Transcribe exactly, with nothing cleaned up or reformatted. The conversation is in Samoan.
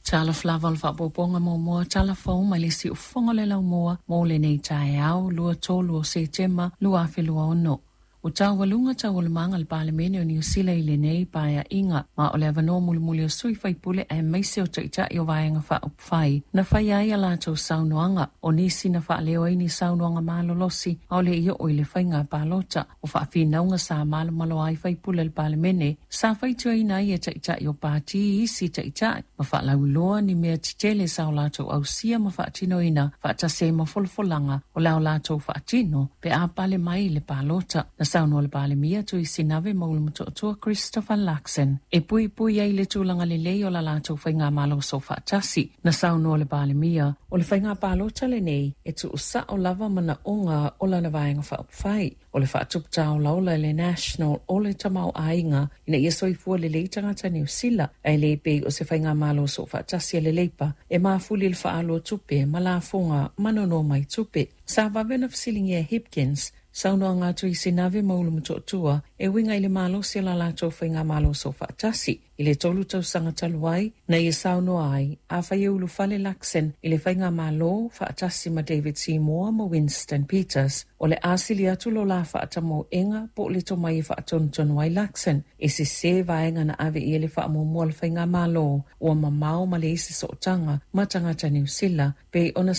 Talofa lava o le faapopoga muamua tala fou mai le siufofoga o le laumua mo lenei taeao lua tolu o Setema lua afe lua ono. Ua taualuga taualumaga a le Palemene o Niu Sila i lenei paeaiga, ma o le avanoa mulimuli o sui faipule aemaise o taitai o vaega faaupufai na faia ai a latou saunoaga. O nisi na faaleo ai ni saunoaga malolosi a o le i oo i le faiga palota. O faafinauga sa malomalo ai faipule o le Palemene sa faitioina ai e taitai o pati isi taitai ma faalauiloa ni mea tetele sa o latou ausia ma faatinoina faatasi ai ma folafolaga o le a o latou faatino pe a pale mai i le palota. Na saunoa le Palemia Tuisinave Maulu-Motootua Christopher Luxon e puipui ai le tulaga lelei o la latou faigamalo soofaatasi. Na saunoa le Palemia o le faiga palota lenei e tuusao lava manaoga o lana vaega faaupufai o le faatupu tāolaola i le National o le tamaoaiga ina ia soifua lelei tagata Niu Sila, ae le pei o se faigamalo soofaatasi a le Leipa e mafuli i le faaalu o tupe ma lafoga ma nono mai tupe. Sa vave ona fesiligia e Hipkins saunoaga a Tuisinave Maulu-Motootua e uiga i le malosi o la latou faigamalo soofaatasi i le tolu tausaga talu ai na ia saunoa ai afai e ulufale Luxon i le faigamalo faatasi ma David Seymour ma Winston Peters, o le a sili atu lo la faatamoega po o le tomai e faatonutonu ai Luxon e sesē vaega na ave i ai le faamuamua a le faigamalo ua mamao ma leai se sootaga ma tagata Niu Sila pei ona